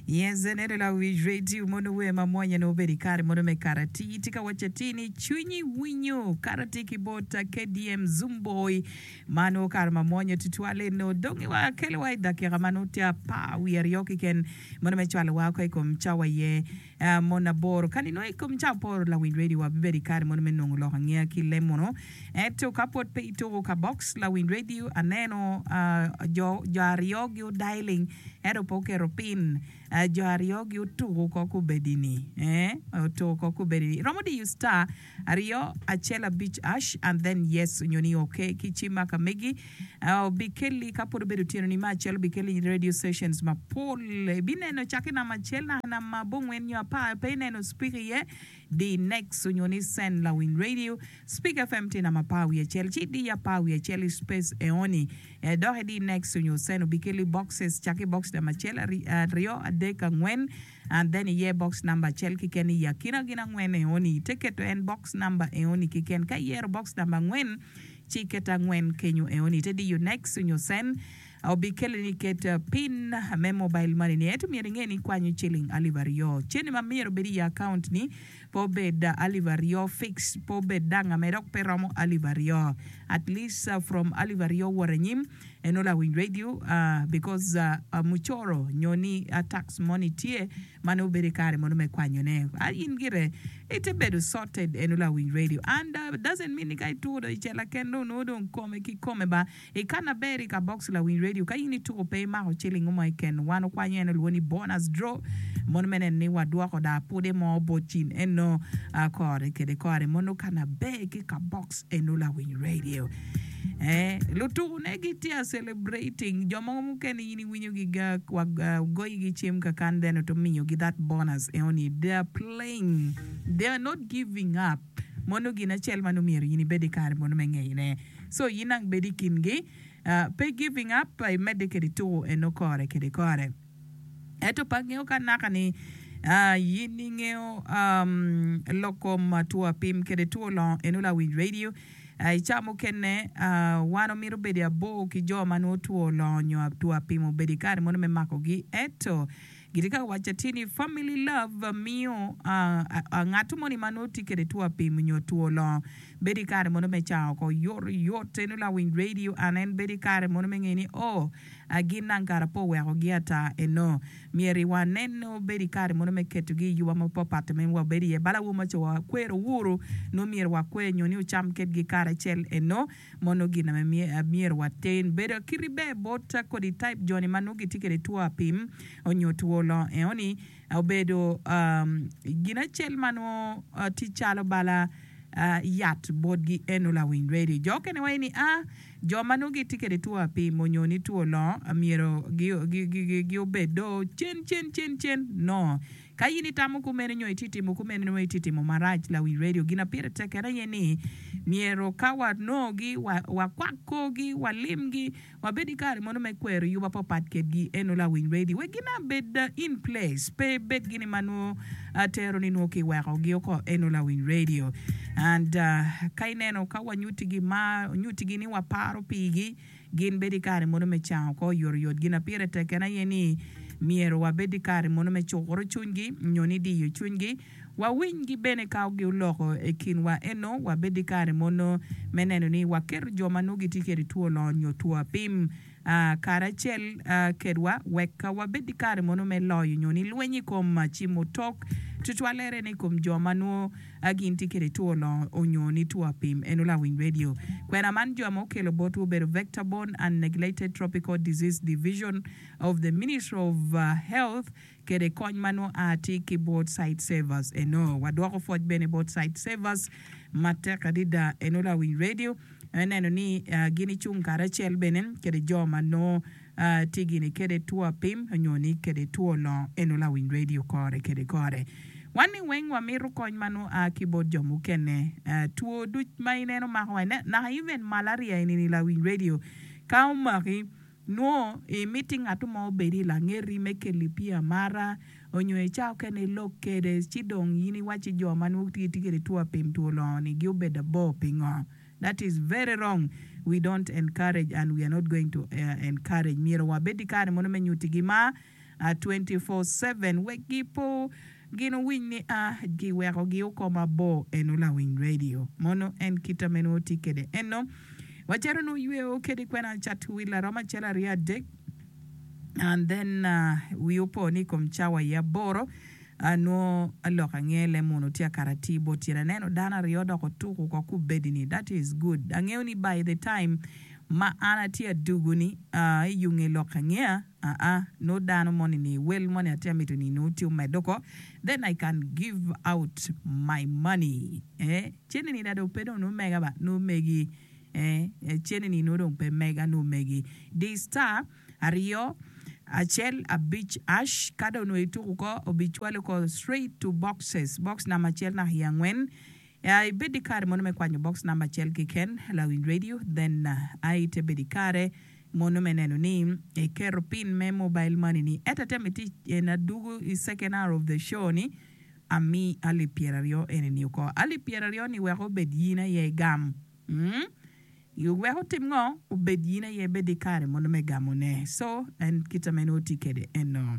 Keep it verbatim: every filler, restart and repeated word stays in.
Yes, ene lawiny radio mono wer ma mwonya nongo obedo i kare mono me karati tye ka waco atir ni cwinyi winyo karati ki bot K D M Zumboy ma nongo kare ma mwonya tutwal eno dong wa kelo wa i dakika ma nongo tye apar wiye aryo keken mono me cwalo wa oko i kom cawa iye mono aboro ka nino i kom cawa aboro. Lawiny radio wa bibedo i kare mono me nongo lok angeya ki le mono, ento ka pwod pe ituko ka box, lawiny radio, aneno jo jo aryo gi odialing ento pe oketo pin. Jo aryo gi otuko ko kubedi-ni, eh, otuko ko kubedi-ni. Iromo diyo star aryo acel abic hash and then yes onyo ni okay ki cim ka megi obikeli. Ka pwod obedo otyeno-ni me acel, obikeli radio stations mapol. Ibineno cak i namba acel naka namba abongwen nyo apar, pe ineno Speak iye, di next onyo ni send. Lawiny radio, Speak F M tye namba apar wiye acel, ci di apar wiye acel i space eoni, dok idi next onyo send, obikeli boxes cak i box namba acel, aryo, adek, angwen, and then iye box number acel kiken i akina gin angwen eoni. Ite keto en box number eoni kiken. Ka iyero box number angwen, ci iketo angwen kenyo eoni, ite diyo next onyo send, obikeli ni ket pin me mobile money ni. Ento myero inge ni kwanyo ciling alip aryo. Cene ma myero obed i account ni pe obed alip aryo fix, pe obed danga me dok pe romo alip aryo, at least from alip aryo wot anyim eno, lawiny radio, because mucoro nyo ni tax money tye ma nongo bedo i kare mono me kwanyone. In gire ite bedo sorted eno, lawiny radio, and doesn't mean ni ka ituko dong icela ken dong nongo dong kome ki kome ba ikana ber i ka box. Lawiny radio, ka in ituko pe imako ciling mo keken, wan okwanyo en olwongo ni bonus draw mono me neno ni wadwoko da pude mo bot cin eno kore kede kore mono kana ber ki ka box eno, lawiny radio. Eh, lutuku ne gitye a celebrating. Jo mogo mukene in iwinyo gi goyi gi cim kakan, then to miyogi that bonus eoni. They are playing, they are not giving up. Mono gin acel ma myero in ibed i kare mono me ngeyone. So in ang bed i kingi, uh, pe giving up, imedde kede tuku eno kore kede kore. Ento pa ngeo ka naka ni uh, yin ingeo um, lok kom two apim kede two longo eno, lawiny radio, uh, i ca mukene uh, wan omito bedo abor ki jo ma nongo two longo nyo two apim obedo i kare mono me makogi. Ento gitye ka waco atir ni family love miyo uh, uh, ngat moni ma nongo tye kede two apim nyo two longo bedo i kare mono me cango oko yot yot eno, lawiny radio. An en bedo i kare mono me ngeyo ni oh, gin nang kara po wekogi ata eno. Myero waneno bedo i kare mono me ketogi i yuba mapapat me wabedo iye bala wo maco wakwero wuru no myero wakwer nyo ni ocam kedgi karacel eno. Mono gin ame myero waten bedo kiti ber bot kodi type joni ma nongo gitye kede two apim onyo two longo eoni. Obedo um, gin acel ma nongo uh, tye calo bala uh, yat botgi eno, lawiny radio. Jo okene waco ni a jo ma nongo gitye kede two apim onyo ni two longo myero gi obed do cen cen cen cen. No, ka in itamo kumene nyo itye timo kumene, nongo itye timo marac, lawiny radio. Gin a pire tek en aye ni myero ka wanongogi, wakwak korgi, walimgi, wabed i kare mono me kwero yuba papat kedgi eno, lawiny radio, wek gin abed in place, pe bed gini ma nongo tero ni nongo kiwekogi oko eno, lawiny radio. And uh, ka ineno ka wanyutigi ma nyutigi ni waparo pigi, gin bedo i kare mono me cango oko oyotoyot. Gin a pire tek en aye ni myero wabed i kare mono me cukuro cwinygi nyo ni diyo cwinygi, wawinygi bene ka oloko i kinwa eno. Wabed i kare mono me neno ni waketo jo ma nongo gitye kede two longo nyo two apim uh, karacel uh, kedwa, wek uh, wabed i kare mono me loyo nyo ni lweny i kom uh, cimo tok tutwalere ni kom jo ma nongo uh, gin tye kede two longo onyo ni two apim eno, lawiny radio. Kwena man jo ma okelo botwu obedo Vector Borne and Neglected Tropical Disease Division of the Ministry of uh, Health kede kony ma nongo a tye ki bot Site Savers eno. Wadwoko pwoc bene bot Site Savers matek adida eno, lawiny radio, neno ni uh, gin icung karacel bene kede jo ma nongo uh, tye gini kede two apim onyo ni kede two longo eno, lawiny radio, kore kede kore. Wan ni weng wamito kony ma nongo a ki bot jo mukene. uh, two duc ma ineno mako wa naka, even malaria enini, lawiny radio, ka omaki nwo imiti ngatu mo obedi i langeti me keli pii amara onyo i ca okene ilok kede. Ci dong in iwaci jo ma nongo gitye kede two apim, two longo ni gi obedo abor pingo? That is very wrong. We don't encourage and we are not going to uh, encourage. Myero wabed i kare mono me nyutigi ma twenty four seven wek gipo gin owiny ni a giweko gi oko mabor eno lawiny radio mono en kita meno oti kede eno wacito nu yweo kede kwena cat wil aromo acel aryo adek and then uh, wi opo ni kom cawa i aboro anwo alok ange lemon tye akarati bot tyen aneno dano aryo dok otuko ko kubedi ni that is good angeo ni by the time ma an atye adugu ni uh, iyunge lok angea uh -uh, no dano moni ni wel moni atye amito ni no tye omedo ko then I can give out my money eh cene ni dado pe dong no mega ba no megi eh cene ni no dong pe mega no megi di star aryo acel abic ash ka dong onongo ituko ko obicwalo ko straight to boxes box number acel naka i angwen uh, ibed i kare mono me kwanyo box number acel keken lawiny radio then uh, ai te bed i kare mono me neno ni iketo pin me mobile money ni ento te miti en adugu i second hour of the show ni ami alip pyeraryo eni ni oko alip pyeraryo ni wek obed yin aye igam mm? Wek otim ngo obed yin aye bed i kare mono me gamone so en kita meno oti kede eno.